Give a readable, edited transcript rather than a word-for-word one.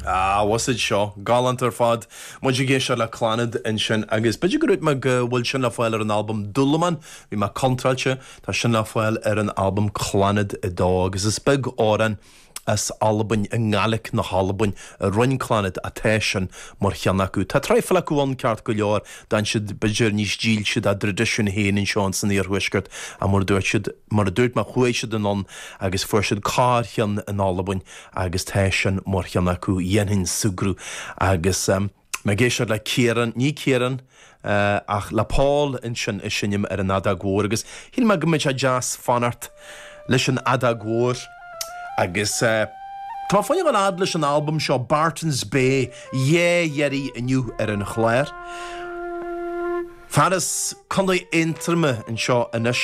Ah, bhfuil a fhios a'd seo, galánta ar fad. Muid ag éisteacht le Clannad ansin agus b'fhéidir go ndúirt mé go bhfuil sin le fáil ar an albam Dúlamán, bhí mé contráilte, tá sin le fáil ar an albam Clannad 2 agus is beag amhrán as Albain, i nGaelic na hAlbain, a rinne Clannad ach tá sin mar cheann acu. Tá traidhfil acu ann ceart go leor, d'fhan siad b'fhéidir níos dílse dá dtraidisiún féin anseo ins an iarthuaisceart ach mar a dúirt siad, mar a dúirt mé chuaigh siad anonn agus fuair siad corrcheann in Albain agus tá sin mar cheann acu, dhéanfainn súgradh agus mé ag éisteacht le Ciarán, ní Ciarán ach le Paul ansin ag seinm ar an fheadóg mhór agus shíl mé go mbeadh sé deas fanacht leis an fheadóg mhór agus tá mé fá choinne dul fhad leis an albam seo Barton's Bay, dhá iarraidh inniu ar an chlár. Fear as Contae Aontroma anseo anois.